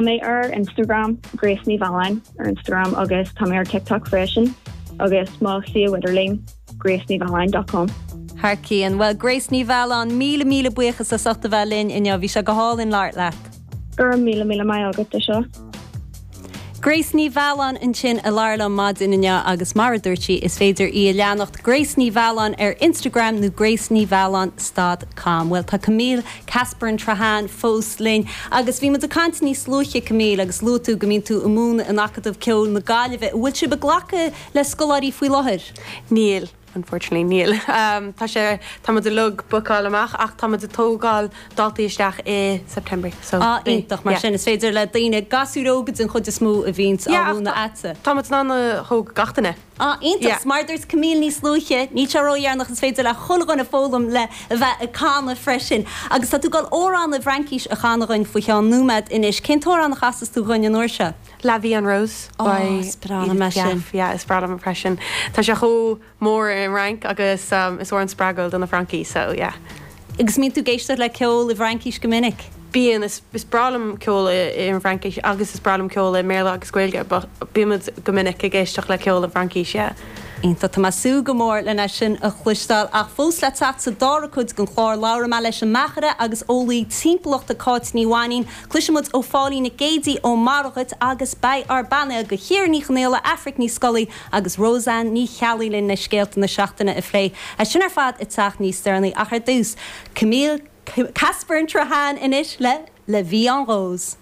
mé ar Instagram, Grace Ní Mhealláin ar Instagram agus tá mé ar TikTok freisin agus mo shuíomh idirlín, gracenimealláin dot com. Thar cionn. Bhuel, Grace Ní Mhealláin, míle míle buíochas as ucht a bheith linn inniu. Bhí sé go hálainn labhairt leat. Go raibh míle míle maith agat as seo. Grace Ní Mhealláin ansin a labhair liom maidin inniu agus mar a dúirt sí, is féidir í a leanacht Grace Ní Mhealláin ar Instagram nó gracenimhealláin stad com. Bhuel, tá Camille Casburn-Trahan fós linn agus bhí muid ag caint níos luaithe, Camille, agus luaigh tú go mbíonn tú ag múineadh in Acadamh Ceoil na Gaillimhe. An bhfuil sibh ag glacadh le scoláirí faoi láthair? Níl. Unfortunately, níl. Tá sé, tá muid uilig bookáilte amach ach tá muid ag tógáil daltaí isteach i September so Ah, iontach, mar sin is féidir le daoine, gasúir óga den chuid is mó a bhíonns á mhúineadh a'dsa. Tá muid in ann a thóg gach duine. Ah, iontach, mar a dúirt Camille níos luaithe, níl sé ródheireanach, is féidir le chuile dhuine foghlaim le a bheith ag canadh freisin. Agus tá tú ag dul amhrán i bhFraincís a chanadh dhuinn faoi cheann nóiméad anois. Cén t-amhrán a chasfas tú dhuinn an uair seo? La Vie en Rose by Edith Piaf. Yeah, is breá liom é freisin. Tá sé chomh mór i bhFrainc agus is amhrán spreagúil do na Francaigh, so yeah. Agus mbíonn tú ag éisteacht le ceol i bhFraincís go minic? Bíonn, is breá liom ceol i bhFraincís agus is breá liom ceol i mBéarla agus Gaeilge but bímid go minic ag éisteacht le ceol i bhFraincís, yeah. Iontach, tá mé ag súil go mór lena sin a chloisteáil. Ach fós le teacht sa dara cuid den chlár, labhróidh mé leis an mbeachaire agus eolaí timpeallachta Cáit Ní Mhainín, Cloisfidh muid ó Phóilín Nic Géidigh ón Mara Dhuit agus beidh ár bpainéal de Chiara Ní Chonaola, Aifric Ní Scolaí agus Roseanne Ní Cheallaigh linn le scéalta na seachtaine a phlé. É sin ar fad ag teacht níos deireanaí ach ar dtús, Camille Casburn-Trahan anois le La Vie en Rose.